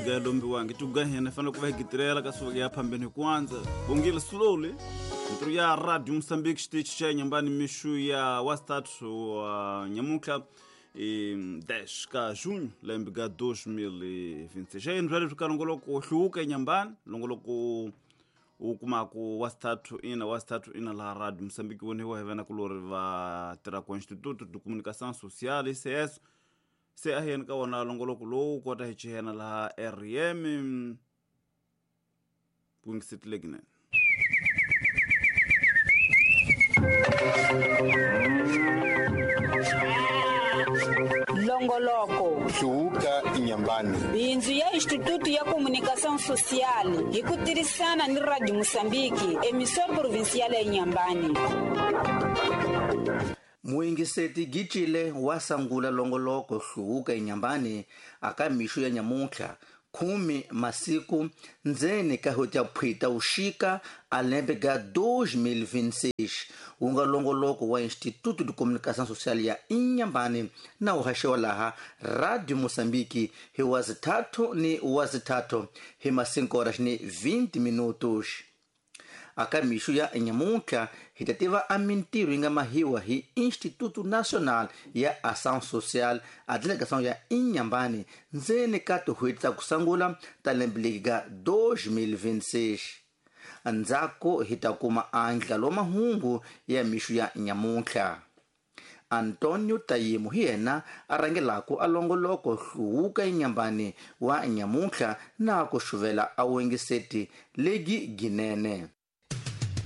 lega lombiwangi tugahena fanele ku va hi gitirela ka swi ya phambeni hi ku andza bongile slowly ntirho ya radio Mozambique xitichi xa Nyambani mixu ya wasitatu wa nyamuntlha i 10 ka junho lembe ka 2026 xa yini bya leswi ka longoloko hluvuka eNyambani longoloko u kumaku wasitatu ina laha radio Mozambique voniwa hi vena kulori va tirhaka Instituto de Comunicação Social ICS se a hi yeni ka wona longoloko lowu kota hi chihena laha rm kungisetilekinen Longoloko Hluvuka Inyambani bindzu ya Instituto ya Comunicação Social hi ku tirhisana ni Radio Mozambique emissora provincial ya Inhambane. Muingiseti Gicile wa sangula longoloko hluvuka Inyambani aka mixo ya nyamuntlha 10 masiku ndzeni ka hweti ya phwita uxika a lembe ga 2026 wu nga longoloko wa Instituto de Comunicação Social ya Inhambane na wu haxiwa laha Radio Mozambique hi wazithathu ni wazithathu hi ma 5 horas ni 20 minutos. Aka mixo ya nyamuntlha hi ta tiva a mintirho yi nga mahiwa hi Instituto Nacional ya Ação Social a delegação ya Inhambane ndzeni ka tin'hweti ta ku sungula ta lembe leri ga 2026. Ndzhaku hi ta kuma andlalo wa mahungu ya mixo ya nyamuntlha. Antonio Tayimu hi yena a rhangelaka a longoloko hluvuka Inyambani wa nyamuntlha na ku xuvela a wengiseti legi ginene.